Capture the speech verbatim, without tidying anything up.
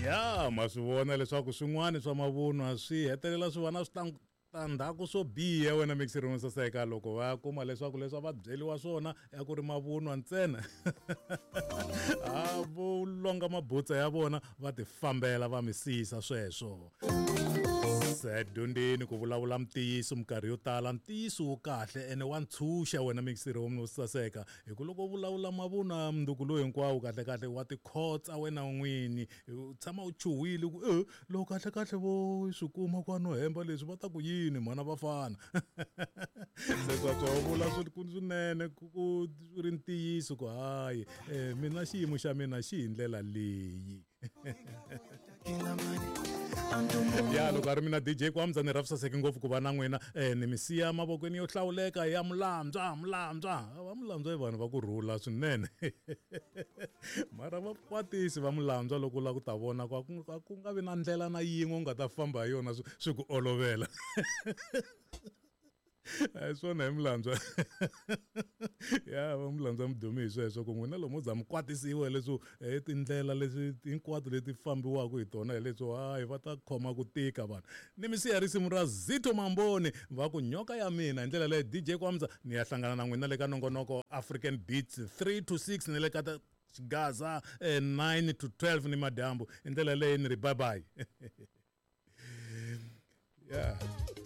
Ya ma swi vona leswaku swin'wana swa mavunwa swi hetelela swi va na switandzhaku swo biha wena mixiri wo saseka loko va kuma leswaku leswi a va byeriwa swona ya ku ri mavunwa ntsena. A vo longa mabutsa ya vona va ti fambela va misisa sweswo. Se dyondzeni ku vulavula ntiyiso minkarhi yo tala, ntiyiso wu kahle ene wa ntshunxa wena mixiri wo saseka hi ku loko u vulavula mavunwa mundzuku lowu hinkwawo kahle kahle wa tikhotsa wena n'wini, u tshama u chuhile ku e loko kahle kahle vo swi kuma ku a no hemba leswi va ta ku yini mhana vafana. Se swa vula swinene ku ku ri ntiyiso ku hayi mina xiyimo xa mina xi hi ndlela leyi. Ya loko a ri mina D J Kwamza ni rhafisaseke ngopfu ku va na n'wina ni mi siya mavokweni yo hlawuleka ya Mulandzwa Mulandzwa va Mulandzwa i vanhu va ku rhula swinene. Mara va kwatisi va Mulandzwa loko u lava ku ta vona ku a ku nga vi na ndlela na yin'we u nga ta famba hi yona swi ku olovela. A hi swona hi Mulandzwa. Ya va Mulandzwa mi dume hi sweswo ku n'wina lomu za mi kwatisiwa leswo hi tindlela leswi hinkwato leti fambiwaka hi tona hi leswo hayi va ta khoma ku tika vanhu. Ni mi siya risimu ra Zito Mamboni va ku nyoka ya mina hi ndlela leyi D J Kwamza ni ya hlangana na n'wina le ka nongonoko African Beats three to six ni le ka Gaza nine to twelve ni madyambu hi ndlela leyi ni ri bye bye. Yeah.